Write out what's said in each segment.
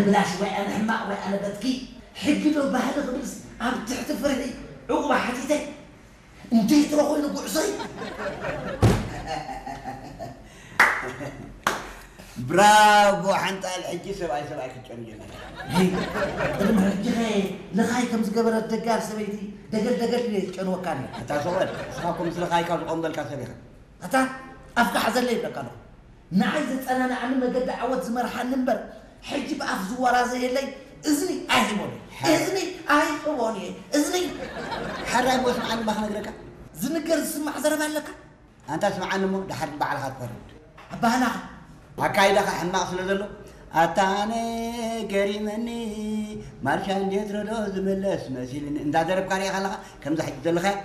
ብላሽ ወይ ኣነ ሕማቕ ወይ ኣነ በትኪ። ሕጊ ዶ ባህሊ ክብልስ ኣብ ትሕቲ ፍርሒ ዕቑባ ሓቲተ። እንዴት ነው ኮይኑ ጉዕዞይ? ብራቮ ሓንጣል፣ ሕጂ ሰብኣይ ሰብኣይ ክትጨኑ ጀመረ። ሄይ፣ ቅድሚ ሕጂ ኸ ልኻይ ከም ዝገበረት ደጋል ሰበይቲ ደገል ደገል ኢለ ዝጨንወካ ነይረ። ኣታ ሰብኣይ፣ ንስኻ እኮ ምስ ልኻይ ካብ ዝቖምበልካ ሰብ ኢኻ። ኣታ ኣፍካ ሓዘለይ ይብለካ ኣለኹ። ንዓይ ዘጸናንዓኒ መገዲ ዓወት ዝመርሓኒ እምበር፣ ሕጂ ብኣፍ ዝወራዘየለይ እዝኒ ኣይህቦን እየ። እዝኒ ኣይህቦን እየ። እዝኒ። ሓራይ እሞ ስምዓኒ እባ ክነግረካ። ዝንገር ዝስማዕ ዘረባ ኣለካ? ኣንታ ስምዓኒ እሞ ድሓር ባዕልኻ ትፈርድ። ኣባህላኻ። ኣካይዳኻ ሕማቕ ስለ ዘሎ፣ ኣታ ኣነ ገሪመኒ፣ ማርሻ እንዴት ረዶ ዝምለስ መሲልኒ እንዳደረፍካ ሪኢኻ ኣለኻ፣ ከምዛ ሕጂ ዘለኻያ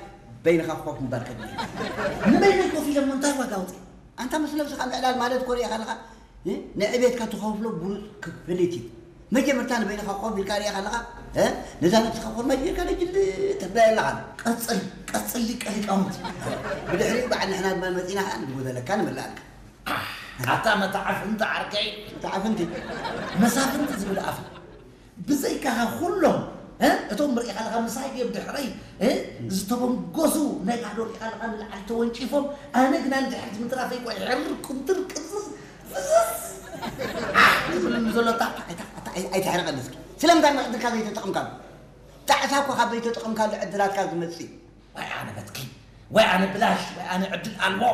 በይንኻ ኮፍ ምባል ከድሊ። ንበይነይ ኮፍ ኢለ እሞ እንታይ ዋጋ ኣውፅእ? ኣንታ ምስ ነብስኻ ምዕላል ማለት እኮ ሪኢኻ ኣለኻ፣ እ? ንዕቤትካ ትኸፍሎ ብሉፅ ክፍሊት እዩ። መጀመርታ ንበይንኻ ኮፍ ኢልካ ሪኢኻ ኣለኻ፣ እ? ነዛ ነብስኻ ኮርማጅ ጌርካ ነጅል ተብላያ ኣለኻ። ቀፅል፣ ቀፅል ሊቀ ሊቃውንቲ። ብድሕሪኡ በዓል ንሕና ድማ መፂና ኸዓ ንጎደለካ ንምልኣልካ። ኣታ መታዕፍንቲ ዓርከይ። መታዕፍንቲ። መሳፍንቲ ዝብል ኣፍ። ብዘይካኻ ኩሎም፣ እ? እቶም ርኢኻ ኣለኻ ምሳይ ድዮም ድሕረይ፣ እ? ዝተበንገሱ ነጋዶ ርኢኻ ኣለኻ ንላዕሊ ተወንጪፎም፣ ኣነ ግና ንድሕሪት ምትራፈይ እኮ ይሕርር ኩምትር ቅዝዝ ፍዝዝ ዝብልሉ ዘሎ እታ፣ እታ፣ እታ ኣይ-፣ ኣይተሕርቐኒ እስኪ። ስለምንታይ መዕድልካ ዘይተጠቕምካሉ? ጣዕሳ እኮ ካብ ዘይተጠቐምካሉ ዕድላትካ ዝመጽእ እዩ። ወይ ኣነ በትኪ፣ ወይ ኣነ ብላሽ፣ ወይ ኣነ ዕድል ኣልቦ።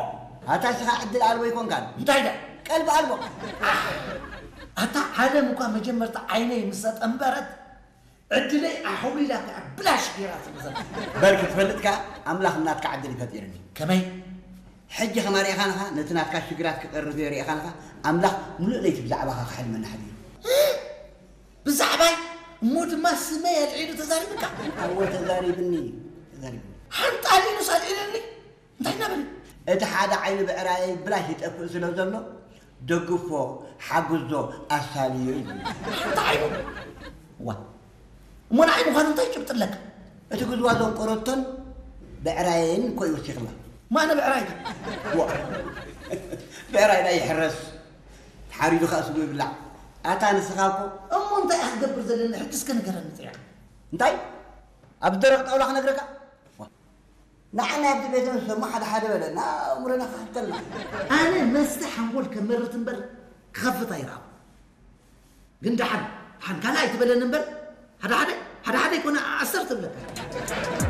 ኣታ እስኻ ዕድል ኣልቦ ኣይኮንካን። እንታይ ደኣ? ቀልቢ ኣልቦ። ኣታ ዓለም እኳ መጀመርታ ዓይነይ ምስ ኣጠንበረት፣ ዕድለይ ኣሕውሊላ እኮ እያ ብላሽ ገይራ ትምዘን። በል ክትፈልጥ ከኣ ኣምላኽ ናትካ ዕድል እዩ ፈጢርኒ። ከመይ? ሕጂ ከማሪእኻንኻ ነቲ ናትካ ሽግራት ክቐርብ እየ ሪእኻንኻ ኣምላኽ ሙሉእ ለይቲ ብዛዕባኻ ክሕልመኒ ሓዲሩ። ብዛዕባይ እሞ ድማ ስመይ ኣልዒሉ ተዛሪብካ። ኣወ ተዛሪብኒ፣ ተዛሪብኒ። ሓንጣሊኑስ ኣልዒልኒ። እንታይ እናበለ? እቲ ሓደ ዓይኒ ብዕራየይ ብላሽ ይጠፍእ ስለ ዘሎ፣ ደግፎ፣ ሓግዞ፣ ኣሳልዮ እዩ። ሓንቲ ዓይኑ? ዋ፣ እሞ ንዓይ ምዃኑ እንታይ ጭብጢ ኣለካ? እቲ ግዝዋ ዘንቆረቶን ብዕራየይን እኮ እዩ ወሲኽላ። ማነ ብዕራይካ? ዋ፣ ብዕራይና ይሕረስ፣ ተሓሪዱ ከኣ ስጉ ይብላዕ። ኣታ ንስኻ እኮ። እሞ እንታይ እያ ክትገብር ዘለኒ? ሕጂ እስከ ንገረኒ ጥሪኻ። እንታይ? ኣብ ደረቕ ጣውላ ክነግረካ? ዋ፣ ንዓና ኣብዚ ቤት እንስሳ እሞ ሓደ ሓደ በለና፣ ኣእምሮና ክኸፍተልና። ኣነ መስተ ሓንጎል ከመርት እምበር ክኸፍት ኣይረኣኹ። ግን ደሓን፣ ደሓን ካልእ ኣይትበለኒ እምበር፣ ሓደ ሓደ፣ ሓደ ሓደ ኣይኮነ፣ ዓሰርተ እብለካ።